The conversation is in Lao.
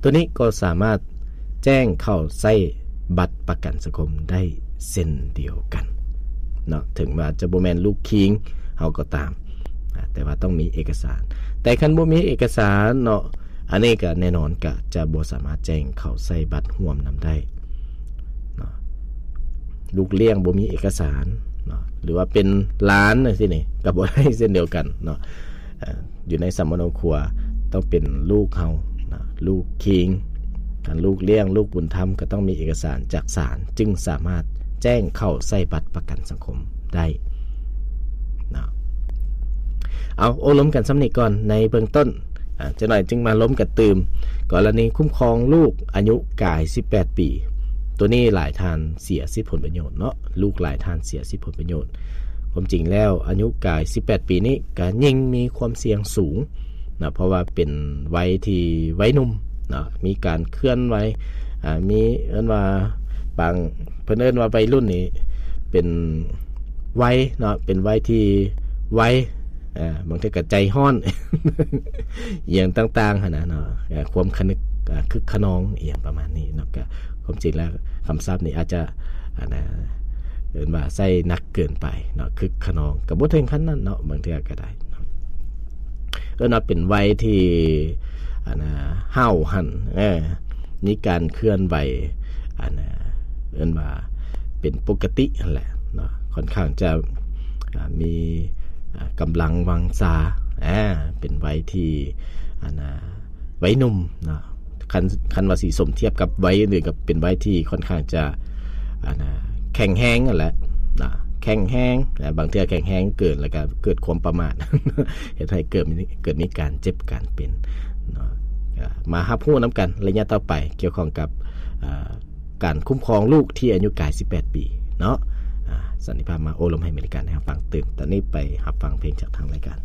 ຕົວນີ້ກໍສາມາດແຈ້ງເຂົ້າໃຊ້ບັດປະກັນສັງຄົມໄດ້ເຊັ່ນດຽວກັນເນາະ ເຖິງວ່າຈະບໍ່ແມ່ນລູກຄີງເຮົາກໍຕາມ ອາ ແຕ່ວ່າຕ້ອງມີເອກະສານ. ແຕ່ຄັນບໍ່ມີເອກະສານເນາະ ອັນນີ້ກໍແນ່ນອນກໍຈະບໍ່ສາມາດແຈ້ງເຂົ້າໃຊ້ບັດຮ່ວມນຳໄດ້ເນາະ. ລູກລ້ຽງບໍ່ມີເອກະສານເນາະ ຫຼືວ່າເປັນຫຼານຈັ່ງຊີ້ນີ້ ກໍບໍ່ໄດ້ເຊັ່ນດຽວກັນເນາະ. ເອີ ຢູ່ໃນສຳມະໂນຄົວຕ້ອງເປັນລູກເຮົາເນາະ ລູກຄີງ ຄັນລູກລ້ຽງ ລູກບຸນທຳ ກໍຕ້ອງມີເອກະສານຈາກສານ ຈຶ່ງສາມາດແຈ້ງເຂົ້າໃຊ້ບັດປະກັນສັງຄົມໄດ້ເນາະ. ເອົາ ໂອ້ລົມກັນສ່ຳນີ້ກ່ອນໃນເບື້ອງຕົ້ນ ອາ ຈັກໜ້ອຍຈຶ່ງມາລົມກັນຕື່ມ. ກໍລະນີຄຸ້ມຄອງລູກອາຍຸກາຍສິບແປດປີ ຕົວນີ້ຫຼາຍທ່ານເສຍສິດຜົນປະໂຫຍດເນາະ ລູກຫຼາຍທ່ານເສຍສິດຜົນປະໂຫຍດ. ຄວາມຈິງແລ້ວອາຍຸກາຍສິບແປດປີນີ້ກໍຍິ່ງມີຄວາມສ່ຽງສູງເນາະ ເພາະວ່າເປັນໄວທີ່ໄວໜຸ່ມເນາະ ມີການເຄື່ອນໄຫວ ອາ ມີ ເອີ້ນວ່າບາງ ເພິ່ນເອີ້ນວ່າໄວລຸ້ນນີ້ເປັນໄວເນາະ ເປັນໄວທີ່ໄວ ອາ ບາງເທື່ອກໍໃຈຮ້ອນ ອີ່ຫຍັງຕ່າງໆຫັ້ນນະເນາະ ຄວາມຄະນຶກ ອາ ຄຶກຂະນອງ ອີ່ຫຍັງປະມານນີ້ເນາະ. ກໍຄວາມຈິງແລ້ວຄຳສັບນີ້ອາດຈະ ອັນນະ ເອີ້ນວ່າໃຊ້ໜັກເກີນໄປເນາະ ຄຶກຂະນອງ ກໍບໍ່ເຖິງຂັ້ນນັ້ນເນາະ ບາງເທື່ອກໍໄດ້ເນາະ. ເອີ້ນວ່າເປັນໄວທີ່ ອັນນະ ຫ້າວຫັນ ເອີ ມີການເຄື່ອນໄຫວ ອັນນະ ເອີ້ນວ່າເປັນປົກກະຕິຫັ້ນແຫຼະເນາະ ຄ່ອນຂ້າງຈະ ອາ ມີ ອາ ກຳລັງວັງຊາ ອາ ເປັນໄວທີ່ ອັນນະ ໄວໜຸ່ມເນາະ. ຄັນ ຄັນວ່າຊິສົມທຽບກັບໄວອື່ນໆ ກໍເປັນໄວທີ່ຄ່ອນຂ້າງຈະ ອັນນະ ແຂງແຮງຫັ້ນແຫຼະເນາະ ແຂງແຮງ ແລະ ບາງເທື່ອແຂງແຮງເກີນ ແລ້ວກໍເກີດຄວາມປະໝາດ ເຮັດໃຫ້ເກີດ ເກີດມີການເຈັບການເປັນເນາະ. ກໍມາຮັບຮູ້ນຳກັນໄລຍະຕໍ່ໄປ ກ່ຽວຂ້ອງກັບ ອາ ການຄຸ້ມຄອງລູກທີ່ອາຍຸກາຍສິບແປດປີເນາະ. ອາ ສັນຕິພາບມາໂອ້ລົມໃຫ້ເມລິກັນໃຫ້ຮັບຟັງຕື່ມ. ຕອນນີ້ໄປຮັບຟັງເພງຈາກທາງລາຍການ.